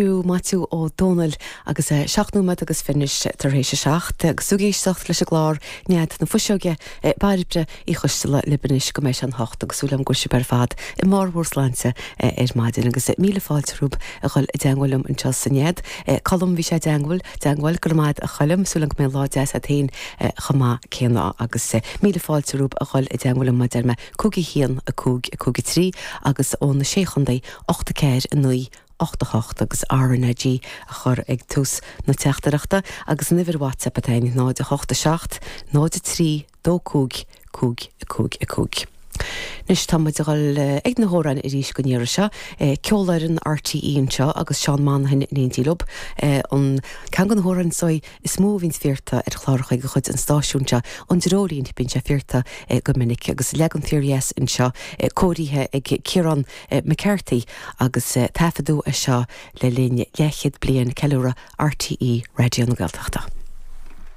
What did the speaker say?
Maitiú Ó Dónaill agus é 7 nóiméad agus fichis tar éis a 7 agus tú ag éisteacht leis an gclár Nead na Fuiseoige, Bairbre Uí Choisteala libh anois go mbeidh sé an hocht agus súil agam go bhfuil sibh ar fad i mbarr bhur sláinte ar maidin agus míle fáilte romhaibh a dhul i dteangmháil liom anseo sa Nead. Colm, bhí sé i dteangmháil, dteangmháil, go raibh maith agat a Choilm, súil agam go mbeidh lá deas agat féin chomh maith céanna agus míle fáilte romhaibh a dhul i dteangmháil liom mar a deir mé 5 1 5 5 3 agus ó na Sé Chontae 8 4 9 8 8 agus RnaG a chur ag tús na teachtaireachta agus an uimhir WhatsApp atá againn 0 8 7 0 3 2 5 5 5 5. Anois tá muid a dhul ag na hamhráin arís don iarraidh seo. Ceolfhoireann RTÉ anseo agus Seán Monaghan in éindí leo. An ceann de na hamhráin is dóigh is mó a bhíonns fiarta ar chláracha de chuid an stáisiúin seo, An Dreoilín, bíonn sé fiarta go minic agus leagan fíordheas anseo cóirithe ag Ciarán McCarthy agus taifeadadh é seo le linn leathchéad bliain ceiliúradh RTÉ Raidió na Gaeltachta.